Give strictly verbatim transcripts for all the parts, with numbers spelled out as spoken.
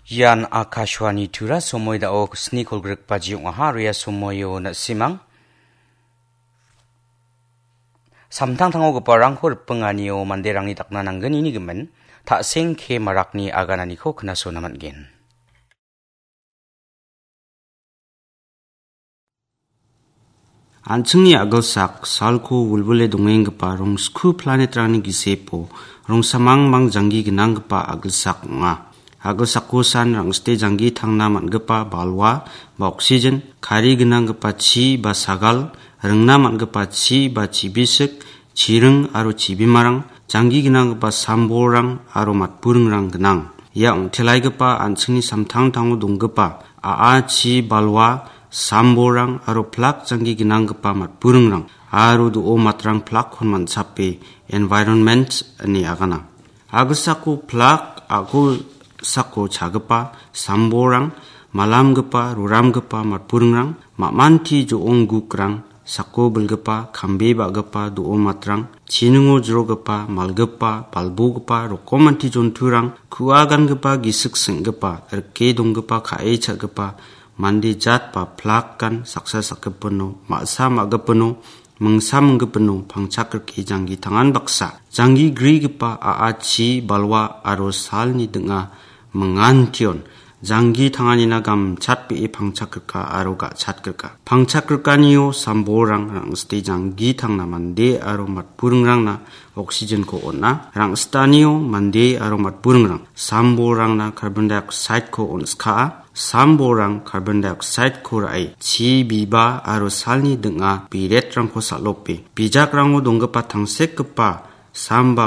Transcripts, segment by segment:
Ian Akashvani Tura somoi dao sni kolgrikbaji ong·aha. Aro ia somoio na·simang samtangtangogiparangko ripinganio manderangni dakna nanggnini gimin, ta·sengke marakni agananiko knasona man·gen. An·chingni a·gilsak salko wilwile dongenggipa rongsku planetrangni gisepo rongsamangmang janggi gnanggipa a·gilsak ong·a. A·gilsako san rangsite janggi tangna man·gipa balwa ba oksigen, kari gnanggipa chi ba sagal, ringna man·gipa chi ba chibisik, chiring aro chibimarang, janggi gnanggipa sambolrang aro matburingrang gnang. Ia ong·telaigipa an·chingni samtangtango donggipa a·a, chi, balwa, sambolrang aro plak janggi gnanggipa matburingrang aro do·o matrang plakkon man·sape environment ine agana. A·gilsako plak, a·gilsako chagipa sambolrang, malamgipa, roramgipa matburingrang, ma·manti jo·ong gukrang, sako bilgipa, kambe ba·gipa do·o matrang, chiningo jrogipa, malgipa, balbogipa, rokomanti jonturang, ku·a gangipa, gisik seng·gipa, rike donggipa, ka·e cha·gipa, mande jat ba plakan saksa sakgipino, ma·sa ma·gipino, mingsa minggipino pangchak rike janggi tangan baksa. Janggi grigipa a·a, chi, balwa aro salni ding·a mingantion. Janggi tanganina gamchatbe·e pangchak rika aro ga·chat rika. Pangchak rikanio sambolrang rangsite janggi tangna mande aro matburingrangna oksigenko on·a. Rangsitanio mande aro matburingrang sambolrangna carbon dioxideko on·skaa. Sambolrang carbon dioxideko ra·e chi biba aro salni ding·a biretrangko sal·ope. Bijakrango donggipa tangsekgipa sam ba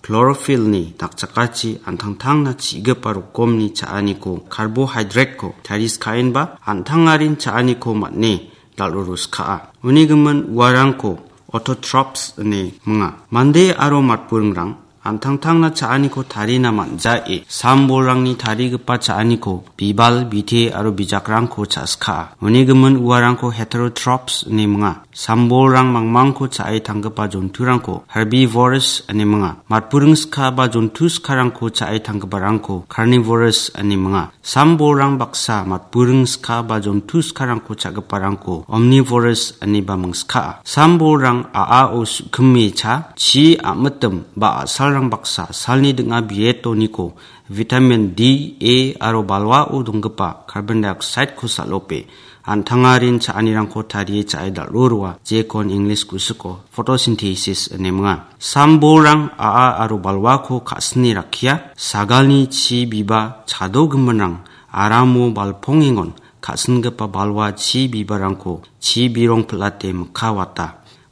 chlorophyllni dakchakachi an·tangtangna chi·gipa rokomni cha·aniko, carbohydrate-ko tariskaenba an·tangarin cha·aniko man·e dal·ruruskaa. Uni gimin uarangko autotrophs ine minga. Mande aro matburingrang an·tangtangna cha·aniko tarina man·jae, sambolrangni tarigipa cha·aniko bibal, bite aro bijakrangko cha·skaa. Uni gimin uarangko heterotrophs ine minga. Sambolrang mangmangko cha·e tanggipa jonturangko herbivores ine minga. Matburing ska ba jontu skarangko cha·e tanggiparangko carnivores ine minga. Sambolrang baksa matburing ska ba jontu skarangko cha·giparangko omnivores ineba mingskaa. Sambolrang a·ao su·kime cha, chi a·mitim ba a·salrang baksa salni ding·a biretoniko vitamin D, A aro balwao donggipa carbon dioxideko sal·ope an·tangarin cha·anirangko tarie cha·e dal·roroa, jekon English kusiko photosynthesis ine minga. Sambolrang a·a aro balwako ka·sine rakkia, sagalni chi biba chadogiminrang aramo balpongengon ka·singipa balwa chi bibarangko chi birong pil·ate mikka wata.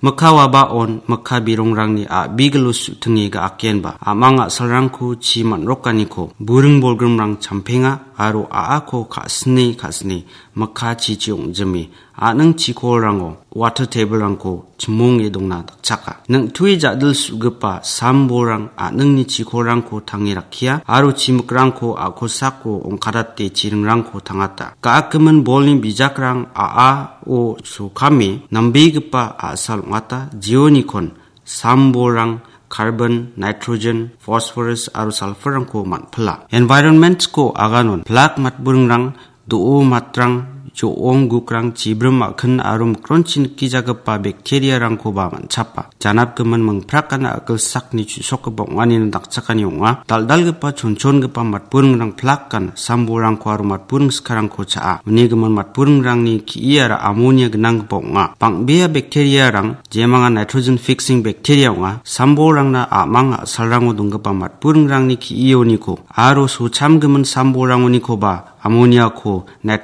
Mikka wabaon mikka birongrangni a·bigilo su·tinge ga·akenba a·mang a·salrangko chi man·rokaniko buring bolgrimrang champenga aro a·ako ka·sine ka·sine mikka chichi ong·jime a·ning chikolrango water table-rangko chimonge dongna dakchaka. Ning·tue ja·dil su·gipa sambolrang a·ningni chikolrangko tange rakkia aro chimikrangko a·kosako ongkadate chiringrangko tangata. Ga·akgimin bolni bijakrang a·ao sokame nambegipa a·sal ong·ata, jeonikon sambolrang carbon, nitrogen, phosphorus aro sulfur-rangko man·pila. Environment-ko aganon plak matburingrang do·o matrang, jo·ong gukrang, chibrim a·kin aro mikronchi nikijagipa bacteria-rangkoba man·chapa. Janapgimin mingprakana a·gilsakni chu·sokgipa ong·anina dakchakani ong·a. Dal·dalgipa chonchongipa matburingrang plakan sambolrangko aro matburing skarangko cha·a. Uni gimin matburingrangni ki·iara ammonia gnanggipa ong·a. Bang·bea bacteria-rang jemanga nitrogen fixing bacteria ong·a. Sambolrangna a·mang a·salrango donggipa matburingrangni ki·ioniko aro sochamgimin sambolrangonikoba ammoniako nit-,